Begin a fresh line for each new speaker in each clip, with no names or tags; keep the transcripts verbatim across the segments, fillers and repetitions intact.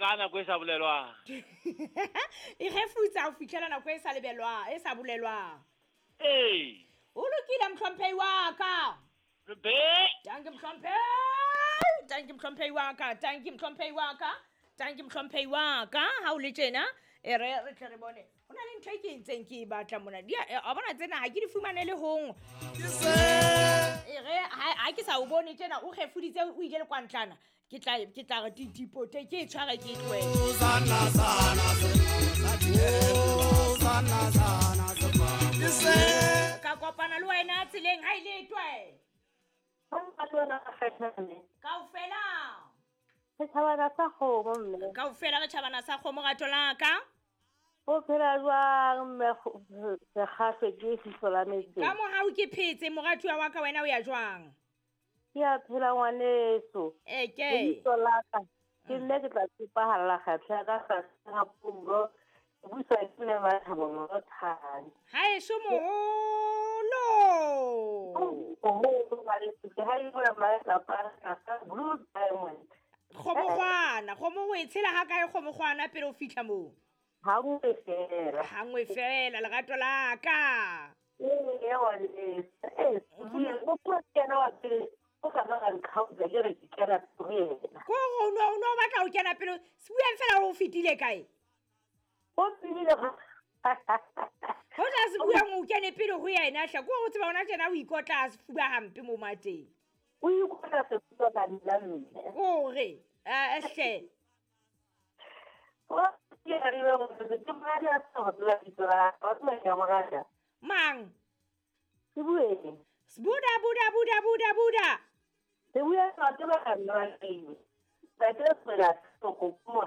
ka nako e sa bolelwang.
E refutsa ho fihlela nako e sa lebelwang, e sa bolelwang.
Ee.
O lokile mohlomphehi wa ka.
Be.
Danke mohlomphehi. Danke mohlomphehi wa ka. Danke mohlomphehi wa ka. Danke mohlomphehi wa ka. Ha o le tjena, e re re tle re bone. Ho na le ntho e ke entseng ke e batla mona. Di a bona tsena ha ke di fumane le hong. E re ha ke sa o bone tjena o kgefuditse o ile le kwantlana. Ke tla ke tla re dipote ke e tshware ke e tlohele. Ka kopana le wena tseleng ha ile e twe. Kaofela.
Re tjhabana sa kgomo mme.
Kaofela re tjhabana sa kgomo rato la ka.
O phela jwang mme sekgahlwe ke fiso la metseng?
Ka mohau ke phetse moratuwa wa ka, wena o ya jwang?
Ke a phela ngwaneso.
Eke.
Lebitso la ka ke nne ke tla tshepahalla kgatlha ya ka tlase ga pulo. Ke buiswa ke mme Mathabo Morothane.
Haeso moholo.
Moholo ngwaneso, ke ha e bua malapa tlasa Blue Diamond.
Kgomogwana, kgomo o e tshela ha kae kgomogwana pele o fihla moo?
Ha nngwe fela.
Ha nngwe fela lerato la ka.
Ee, ngwaneso. Ee, o bua ke yena wa pele. O ka ba nkgaotsa ke re ke kena ho yena.
Ko o no o no batla ho kena pele, se buang fela hore o fetile kae?
O tsebile
Ho tla se buang o kene pele ho yena hle, ko o tseba hona tjena o ikotla a sefuba hampe mo mateng.
O ikotla sefuba ka nna mme.
Hore, eh hle.
O ke re le gore ke madi a sa go tseba lebitso la ka, wa tseba ke a mo rata.
Mang?
Se bueng.
Buda buda buda buda buda.
Se bua ka tseba ka nna wa teng. Ntate fela go kuma.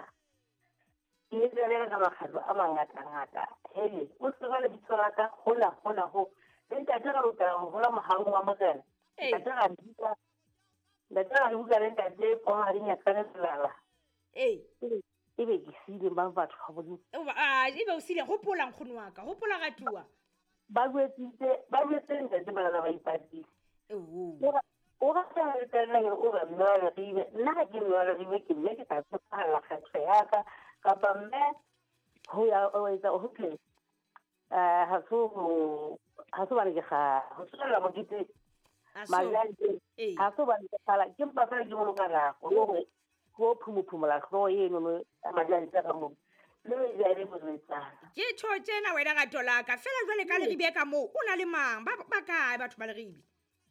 Ke tsere ka makgatlo a mangatangata. Hele, o tseba lebitso la ka hola hola ho. Le ntate ra lokela ho hola mohaung wa Morena. Ntate ra bitsa. Ntate ra bua le ntate Pomadi Nyakane Selala.
Ee.
E be ke siile ba batho ba Modimo.
Ah, e be o siile, hopola nkgono wa ka, hopola ratuwa.
Ba jwetsitse, ba jwetse ntate bana ba ipatile.
Ewo.
O rata le tena o re mme wa Leribe. Nna ha ke mme wa Leribe ke mme ke tla tshepahalla kgetho ya ka kapa mme ho ya o etsa ho tle. Eh ha so ha so bane ke ga ho tswela mokete. Malante ha so bane ke kgala ke mpa fela ke boloka nako hore ho phumuphumola hlooho eno no malante ka mo. Le jare moretsana.
Ke tjho tjena wena rato la ka fela jwale ka Leribe ka moo o na le mang ba ba kae batho ba Leribe?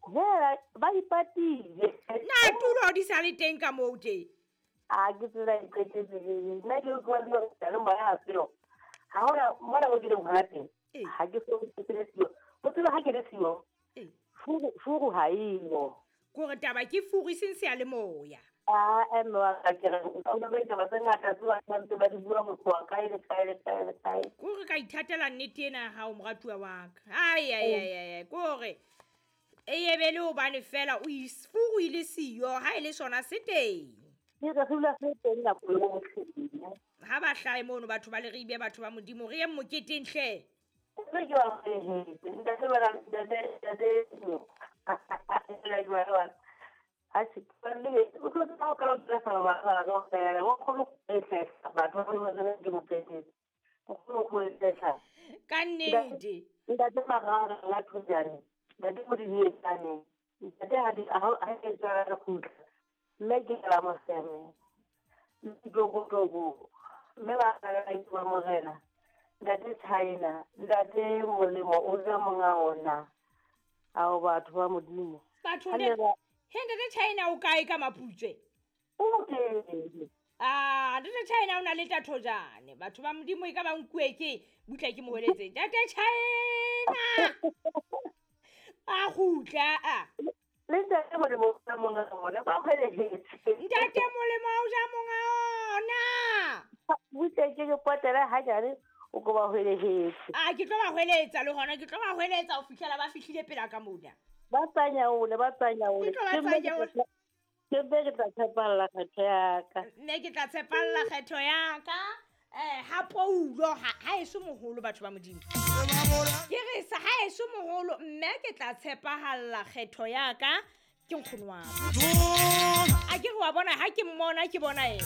Hela ba ipatile.
Na tulo di sa le teng ka moo tje?
A ke tsela e qetetse. Nna ke utlwa le hore le moya ha seo. Ha hona mona mo ke leng hona teng. Ha ke so ke le siyo. O tseba ha ke le siyo. Furu furu ha eo.
Kore taba ke furu seng se ya le moya.
Ah, mme wa ka ke re o ba itaba tse ngata tse ba ntse ba di bua motho wa kae le kae le kae le kae.
Kore ka ithatela nnete ena ha o moratuwa wa ka. Ai ai ai ai kore e yebele hobane fela o furu ile siyo ha ile sona se teng.
Ke re dula se teng nako yohle.
Ha ba hlae mono batho ba Leribe batho ba Modimo re ye moketeng hle.
Re ke wa re ntate ba ntate ntate. A se le o tlo tla ka lo tla fa ba ba go fela go kholo e tla batho ba ba ke mokete. O kholo go e tla.
Ka nnete.
Ntate Magara la Thojane. Ntate Modinyetsane. Ntate ha di ha ke tswa re khutla. Mme ke la moseme. Ntlokotloko. Mme ba ka ke ba Morena. Ntate China, ntate Molemo o ja monga ona. Ao batho ba Modimo.
Batho ne he ntate China o kae ka Maputswe?
O teng.
Ah, ntate China o na le Thojane. Batho ba Modimo e ka ba nkuwe ke butla ke moholetse. Ntate China. A gutla a.
Le ntate Molemo o ja monga ona ba kgwelehetse.
Ntate Molemo o ja monga ona.
Butla ke ke potela ha jare o ko ba hwelehetse.
Ah, ke tlo ba hweletsa le hona ke tlo ba hweletsa ho fihlela ba fihlile pela ka mona.
Ba tsanyaole, ba tsanyaole.
Ke tlo ba tsanyaole.
Ke be ke tla tshepalla kgetho ya ka.
Nne ke tla tshepalla kgetho ya ka. Eh ha poulo ha ha eso moholo batho ba Modimo. Ke re sa ha eso moholo mme ke tla tshepahalla kgetho ya ka ke nkgono wa ka. A ke re wa bona ha ke mmona ke bona ena.